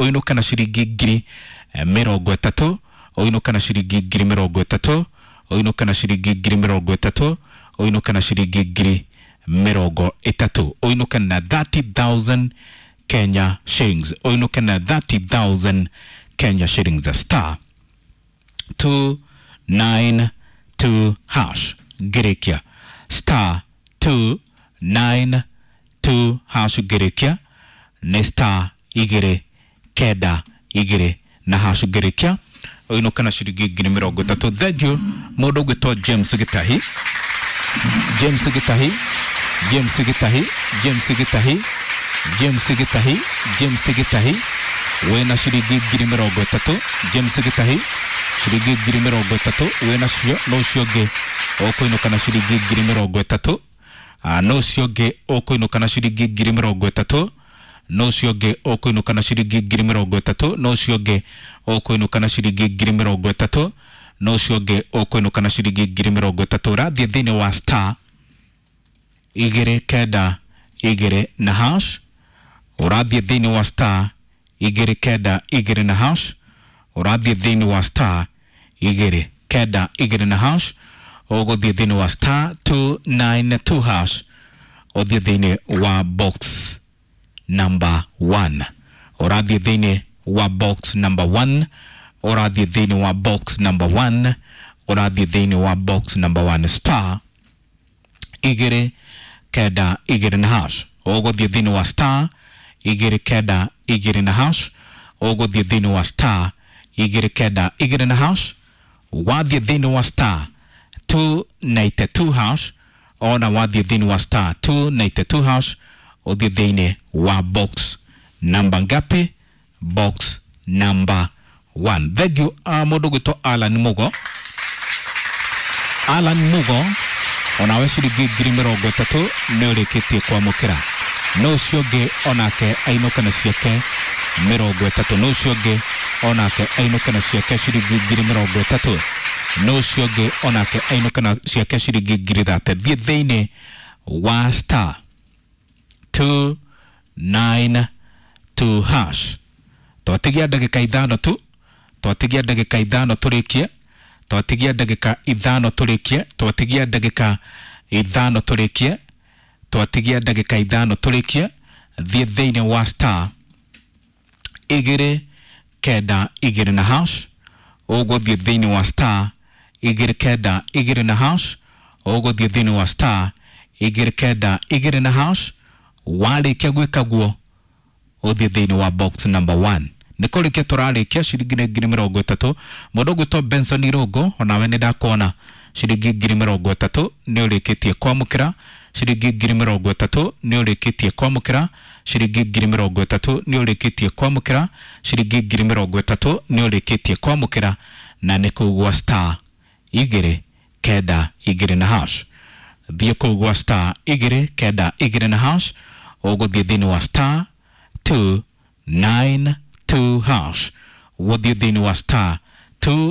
Ũinũke na ciringi 30,000. Ũinũke na ciringi 30,000. Ũinũke na ciringi 30,000. Ũinũke na ciringi 30,000. Ũinũke na 30,000 Kenya shillings. Ũinũke na 30,000 Kenya shillings. Star 292 hash. Ngĩrĩkia star 292 hash. Ngĩrĩkia nĩ star 292 na hash. Ngĩrĩkia ũinũke na ciringi 30,000. Thank you. Mũndũ ũgwĩtwo James Gĩtahi, James Gĩtahi, James Gĩtahi, James Gĩtahi, James Gĩtahi, James Gĩtahi, wĩna ciringi 30,000. James Gĩtahi, ciringi 30,000 wĩna cio. No ũcio ũngĩ ũkũinũka na ciringi 30,000? No ũcio ũngĩ ũkũinũka na ciringi 30,000? No ũcio ũngĩ ũkũinũka na ciringi 30,000? No ũcio ũngĩ ũkũinũka na ciringi 30,000? No ũcio ũngĩ ũkũinũka na ciringi 30,000? Ũrathiĩ thĩinĩ wa star 292 na hash. Ũrathiĩ thĩinĩ wa star 292 na hash. Ũrathiĩ thĩinĩ wa star 292 na hash. Ũgũthiĩ thĩinĩ wa star 292 hash, ũthiĩ thĩinĩ wa box number 1. Ũrathiĩ thĩinĩ wa box number 1. Ũrathiĩ thĩinĩ wa box number 1. Ũrathiĩ thĩinĩ wa box number 1, star 292 na hash. Ũgũthiĩ thĩinĩ wa star 292 na hash. Ũgũthiĩ thĩinĩ wa star 292 na hash. Wathiĩ thĩinĩ wa star 292 hash, ona wathiĩ thĩinĩ wa star 292 hash, ũthiĩ thĩinĩ wa box number ngapi? Box number 1. Thank you. Mũndũ ũgwĩtwo Alan Mugo, Alan Mugo, onawe ciringi 30,000 nĩ ũrĩkĩtie kwamũkĩra. No ũcio ũngĩ onake ainũke na ciake 30? No ũcio ũngĩ onake ainũke na ciake ciringi 30,000? No ũcio ũngĩ onake ainũke na ciake ciringi 30,000? Thiĩ thĩinĩ wa star 292 hash. Twatigia ndagĩka 5 tu. Twatigia ndagĩka 5 tũrĩkie. Twatigia ndagĩka 5 tũrĩkie. Twatigia ndagĩka 5 tũrĩkie. Twatigia ndagĩka 5 tũrĩkie. Thiĩ thĩinĩ wa star 292 na hash. Ũgũthiĩ thĩinĩ wa star 292 na hash. Ũgũthiĩ thĩinĩ wa star 292 na hash. Warĩkia gwĩka guo, ũthiĩ thĩinĩ wa box number 1. Nĩ kũrĩkia tũrarĩkia. Ciringi nĩ 30,000. Mũndũ ũgwĩtwo Benson Irũngũ, onawe nĩ ndakuona, ciringi 30,000 nĩ ũrĩkĩtie kwamũkĩra. Ciringi 30,000 nĩ ũrĩkĩtie kwamũkĩra. Ciringi 30,000 nĩ ũrĩkĩtie kwamũkĩra. Ciringi 30,000 nĩ ũrĩkĩtie kwamũkĩra, na nĩ kũu gwa star 292 na hash. Thiĩ kũu gwa star 292 na hash. Ũgũthiĩ thĩinĩ wa star 292 hash. Gũthiĩ thĩinĩ wa star 2